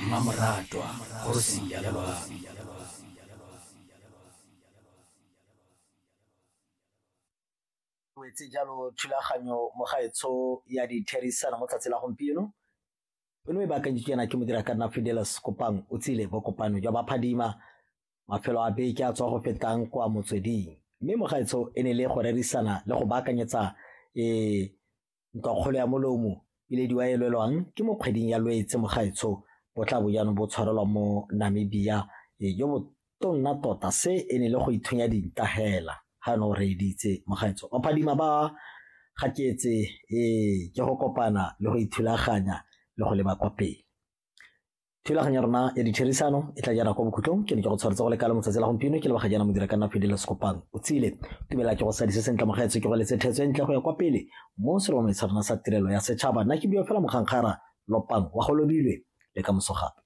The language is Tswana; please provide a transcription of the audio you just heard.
Mmamoratwa, kgosi ya loapi. Wetse jalo thulaganyo mogaetsho ya ditherisano mo tsatsi la gompieno o ne o e baakanyeditswe yana ke modira ka nna Fidelis Kopang o tsile bokopano jwa baphadima mafelo a beke a tswa go fetang kwa motsweding mme mogaetsho e ne le go rerisana le go baakanyetsa um Ntlwakgolo ya molomo ilediwa e lwelwang ke mo kgweding ya Lwetse mogaetsho bo tla bo jaanong bo tshwarelwa mo Namibia jo bo tonna tota se e ne le go ithunya dinta hela ga no reeditse mogaetsho baphadima ba gaketse ee ke go kopana le go ithulaganya le go leba kwa pele. Thulaganyo ya rona ya ditherisano e tla jana kwa bokhutlong ke ne ke go tshwaretse go lekala motsatsi la gompieno ke leboga jaana modira ka nna Fidel Sekopang o tsile tumela ke go sadise sentle mogaetsho ke go letse thetso e ntle go ya kwa pele mo seromong sa rona sa tirelo ya setšhaba nna ke bua fela mogankgara lopang wa go lobilwe le ka moso gape.